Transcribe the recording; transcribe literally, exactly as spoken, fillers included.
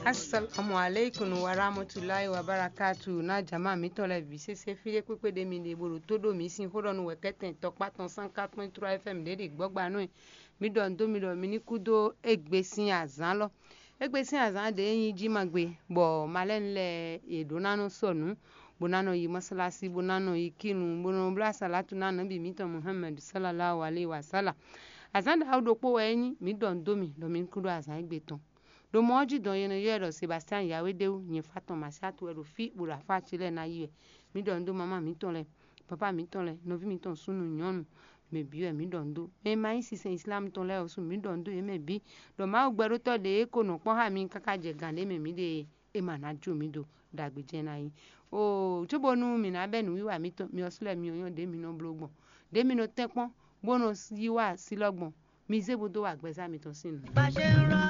Assalamu alaikum wa rahmatulahi wa barakatu. Na jama mǐtɔn lɛ́ɛ bǐ sésé fí ɖé kpékpé ɖé mi ɖe bó ɖo tó ɖó mǐ sín xó ɖɔ nú wɛ̌kɛ́tɛn tɔkpá tɔn sán quatre point trois F M ɖě ɖi gbɔ́gbanú e. Mǐ ɖɔ nǔ dó mi ɖɔ mi ní kú dó égbé sín azǎn lɔ. Égbé sín azǎn ɖě nyí jí ma gbe, bɔ malɛ́nu lɛ́ɛ yě ɖó ná nɔ sɔ nǔ, bó ná nɔ yi mɔsálásí, bó ná nɔ yi kínu, bó nɔ bló asalatu ná nɔbí mǐtɔn Muhammad sallallahu alaihi wa sallam. Azǎn ɖaxó ɖokpó wɛ é nyí, mǐ ɖɔ nǔ dó mi ɖɔ mi ní kú ɖó azǎn égbé tɔn. Ɖo mɔ ɔ́ jí dɔn e nɔ ylɔ́ ɛ ɖɔ Sebastian Yawédéwu, nyɛ fá tɔn Masiatu wɛ ɖo fí bó ɖo afá ce lɛ́ɛ ná yi wɛ. Mǐ ɖɔ nǔ dó mamá mǐtɔn lɛ́ɛ, papá mǐtɔn lɛ́ɛ, nɔví mǐtɔn súnnu nyɔ̌nu, mɛ bǐ wɛ mǐ ɖɔ nǔ dó. Mɛ e ma nyí sinsɛn Islam tɔn lɛ́ɛ ɔ́ su mǐ ɖɔ nǔ dó yě mɛ bǐ, ɖɔ Mawu gbɛɖótɔ́ ɖě e ko nɔ kpɔ́n xá mi káká jɛ gǎn ɖé mɛ mǐ ɖe é, é ma ná jó mǐ do ɖagbe jɛ́n ná nyí. Oo, cóbónú mǐ ná bɛ́ nǔwiwa mǐtɔn, mi ɔ́ slɛ́ mi ɔ́ nyɔ́ ɖě mi nɔ bló gbɔn, ɖě mi nɔ tɛ́nkpɔ́n, bó nɔ yí wá así lɔ gbɔn, mi zé bó dó wa gbɛzá mitɔn sín nǔ.